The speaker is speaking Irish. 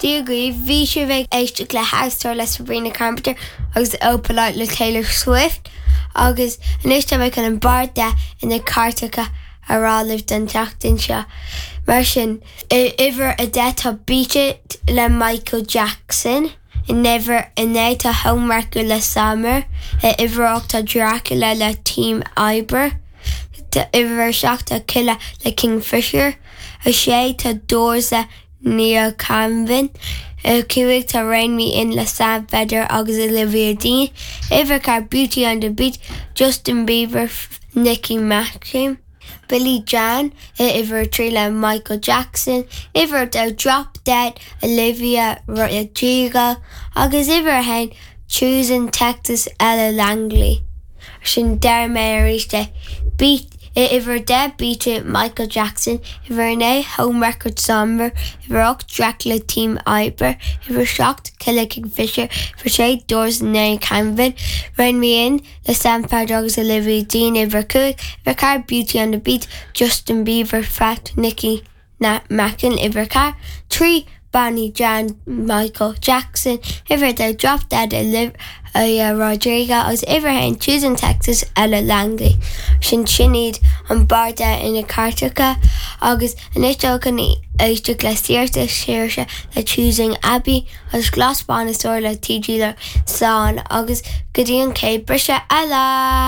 Dia dhaoibh, bhí sibh ag éisteacht le House Tour le Sabrina Carpenter agus Opalite le Taylor Swift agus anois tá mé chun an barr 10 ina cairteacha a rá libh don tseachtain seo. Mar sin, i uimhir 10 tá Beat It le Michael Jackson, in uimhir 9 tá Homewrecker le Sommer, i uimhir 8 tá Dracula le Team Oibre, uimhir 7 tá Killa le Kingfisher, 6 tá Doors le Neil Canvin, 5 tá Rein Me In le Sam Feder agus Olivia Dean, uimhir 4 Beauty and the Beat, Justin Bieber, Nicky Maxim, Billie Jean, uimhir 3 le Michael Jackson, uimhir 2 Drop Dead, Olivia Rodrigo agus uimhir 1 Choosing Texas, Ella Langley. Sin déarfaidh mé arís é. Beat uimhir 10 Beat It, Michael Jackson, uimhir 9 Homewrecker Sommer, uimhir 8 Dracula Team Oibre, uimhir 7 Killa Kingfisher, uimhir 6 Doors Neil Canvin, Rein Me In le Sam Feder agus Olivia Dean, uimhir 5, uimhir 4 Beauty and the Beat, Justin Bieber feat Nicki Mackin, uimhir 4, 3 Bonnie Jan Michael Jackson, uimhir 2 Drop Dead Olivia Rodrigo agus uimhir 1 Choosing Texas Ella Langley. Sin sin iad an barr 10 ina cairteacha agus anois dul chun éisteacht le Saoirse Saoirse le Choosing Abby agus Glas Bán is Ór le TG le Slán agus go dtí an chéad briseadh eile!